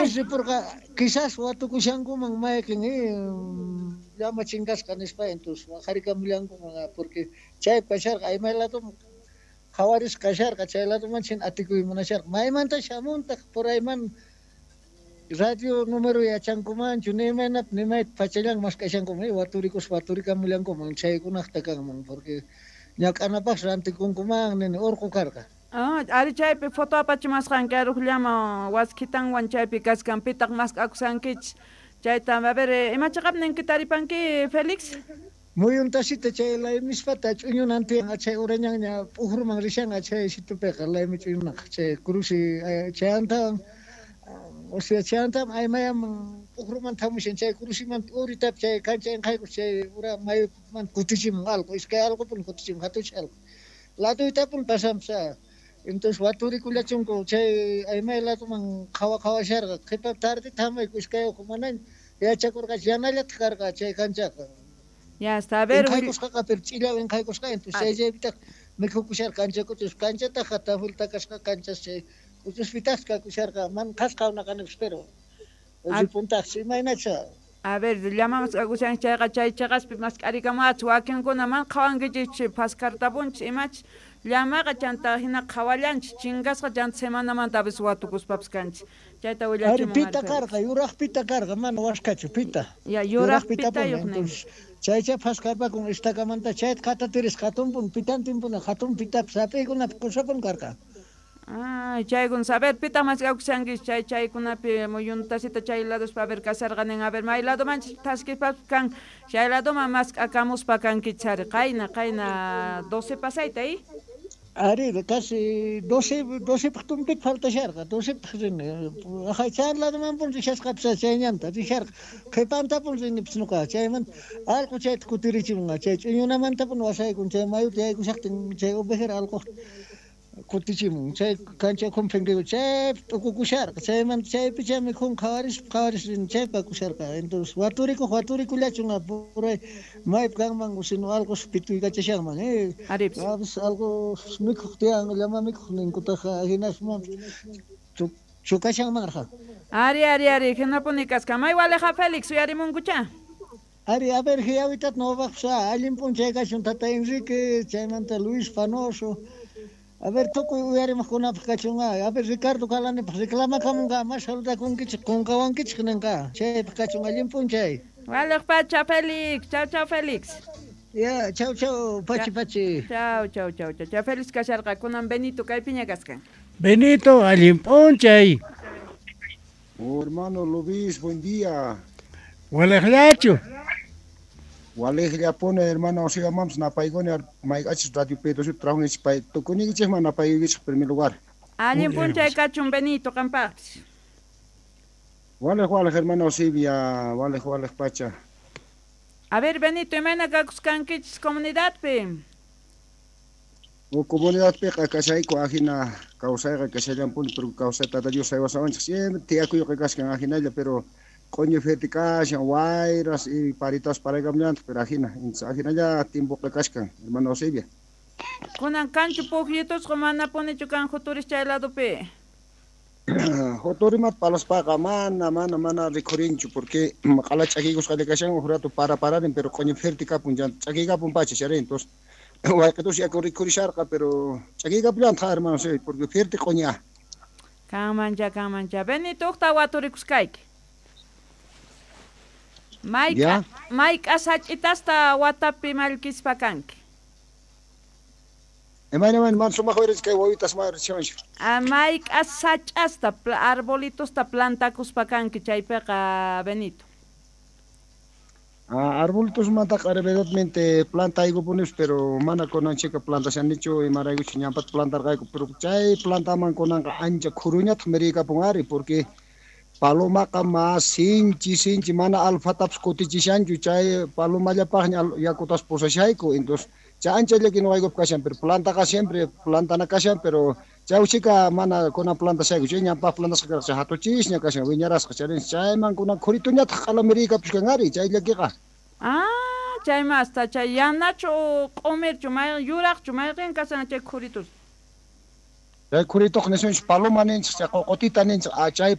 Kunan ripurqa, quizás watukushankuman mayqen llama chinkasqa nispa, entonces waqarikamullankuman, porque chaypi kasharqa, aymay ladoman qhawarisqa kasharqa, chay ladoman china atikuy munasharqa. Maymanta shamuntaq, por ayman radio número yachankumanchu, ni imaynap, ni mayta pachallan mask'ashankuman, waturikuspa waturikamullankuman, chaykunaqta kanman, porque ñak'anapaq rantikunkuman, nini urqu karqa. Ah, ari chaypi foto apachimasqanki aruqllama waskitanwan chaypi kaskan, pitaq mask'akushankichis chayta, a ver, ima chiqap ninki taripanki, Félix? Muyuntasita chay laymispata ch'uñunan tiyan, chay urañanña p'ujruman rishan, chay situpiqa laymi ch'uñunaqa, chay cruci chayantawan, o sea, chayantawan aymayaman p'ujruman thamushan, chay crucimanta uritapi chay kancha inqaykus chay ura mayuman kutichimun alqu, iskay alqupun kutichimun, hatuchay alqu. Laduytapun pasanpas. Entonces waturikullachunku chay aymay laduman qhawa qhawasharqa, qhipa tardeta hamayku iskay uku manaña yachakurqachu, yanallataq karqa chay kanchaqa. Ya está, a ver, Inqaykusqaqa, pero ch'illaw inqaykusqa, entonces chay chaypitaq mikhukusharqa kancha k'uchus, kanchataqa tafulta kasqa kanchas chay k'uchuspitaq kakusharqa, man qhasqa unaqanipis, pero ripuntaqsi, imaynacha. A ver, llama mask'akushanki chayqa chay chiqaspi mask'arikamuwachis, wakinkuna man qhawankichis phaskartapunchis imachis, llamaqa chanta hina qhawallanchis, chinkasqa chanta semanamanta a veces watukuspapas kanchis. Chayta Ari willachimun pita ari, Félix. karqa, yuraq pita karqa, mana waskachu, pita. Ya, yuraq Yuraq pitapuni, pitayuq nin. entonces chaycha phaskarpakun estakamanta, chayta qatatirisqa hatunpun, pitantinpuni, hatun pitapis, hap'iykunapi qusapun karqa. Ah, chaykuna, a ver, pitaq mask'akushankichis chay chaykunapi muyuntasita chay ladospa, a ver, kasharqa nin, a ver, may ladomanchis thaskispapas kan, chay ladoman mask'akamuspa kankichis ari, qayna, qayna 12 pasayta, ¿eh? Ari, casi 12 tumpit faltasharqa, 12 rini. Ajay, chay ladoman pun rishasqapis chay ñanta risharqa. Qhipantapun rinipis nuqa, chayman alqu chayta kutirichimunqa, chay ch'uñunamantapun wasaykun, chay mayuta yaykushaqtin, chay ovejera alqu kutichimun, chay kancha ukhunpi chaypi t'ukukusharqa, chaymanta chaypi chay mikhun qhawarispa qhawaris rini, chaypi kakusharqa. Entonces waturikuq waturikullachun, puray maypi kanman, sino alqus pituykachashanman, Aripis. A veces algo mikhuq tiyan, llama mikhuq ninkutaq, hinasman chukashanmanrqa. Ari, ari, ari, hinapuni kasqa. May waleja Félix, uyarimunkucha. Ari, a ver, hiyawitat nowapaqpis, allin p'unchay kachun tata Enrique, chaymanta Luis Panoso. A ver, tukuy uyarimaqkunapaq kachun, a ver, Ricardo Calanipaq reclamakamunqa, mas saludakunkichik, qunqawankichik ninqa. Chaypaq kachun allin p'unchay. Waleq pacha, Félix. Chau, chau, Félix. Ya, chau, chau, pachi, pachi. Chau, chau, chau, chau. Chau, Félix kasharqa, kunan Benito kaypiña kaskan. Benito, allin p'unchay. Oh, hermano Luis, buen día. Waleqllachu. Walejllapuni, hermano, siga mams napayguni mayk'achis radio Pedro trabajanchis pay tukunikichikman napayuykichik primer lugar. Allin p'unchay kachun Benito qampaqpis. Walej, walej, hermano Silvia, walej, walej pacha. A ver, Benito, imayna kakuskankichis comunidadpi? O comunidadpiqa kashayku ajina kawsayqa kashallampuni, pero kawsay Tata Dios saywasawanchik siempre tiyakuyqa kaskan ajinalla, pero q'uñi fuerte kashan, wayras y paritas paraykamllantaq, pero ajina, ajinalla tiempoqa kashkan, hermano Silvia. Kunan kanchu pukyitusqa manapunichu kan juturis chay ladopi? Juturimat palaspaqa mana, mana, mana rikhurinchu, porque q'ala ch'akiykusqalla kashan, uj rato para pararin, pero q'uñi fuerte kapun, ch'akiykapun pacha charin, entonces wayqitus yaku rikhurisharqa, pero ch'akiykapullantaq, hermano Silvia, porque fuerte q'uña. Kanmancha, kanmancha. Benito, uqta waturikusqayki. Ya. Mayk'a sach'itasta watapi mallkispa kanki? Imayna, imayna, man sumaq uyarichis kay wawitas mayrichiwanchik. Ah, mayk'a sach'asta, arbolitosta plantakuspa kanki chaypiqa, Benito? Ah, arbolitosmantaqa verdadmente plantaykupunis, pero mana kunanchika plantashanichu, imaraykuchu ñampata plantarqayku, pero chay plantaman kunanqa ancha khuruñataq mirikapun ari, porque palomaqa mas sinchi, sinchi, mana alfatapis kutichishanchu, chay palomallapaqña yakutas pusashayku, entonces chay ancha llaki nuqaykupi kashan, pero plantaqa siempre plantana kashan, pero chay uchika mana kunan plantashayku, chay ñampaq plantasqa karqa, chay hatuchisña kashan, wiñarasqa, chay chayman kunan khurituñataq q'ala mirikapuskan ari, chay llakiqa. Ah, chay masta, chay yanachu q'umirchu, may yuraqchu, mayqin kashan chay khuritus? Chay khurituq nisunchik paloma ninchik, chay qoqotita ninchik, ah, chay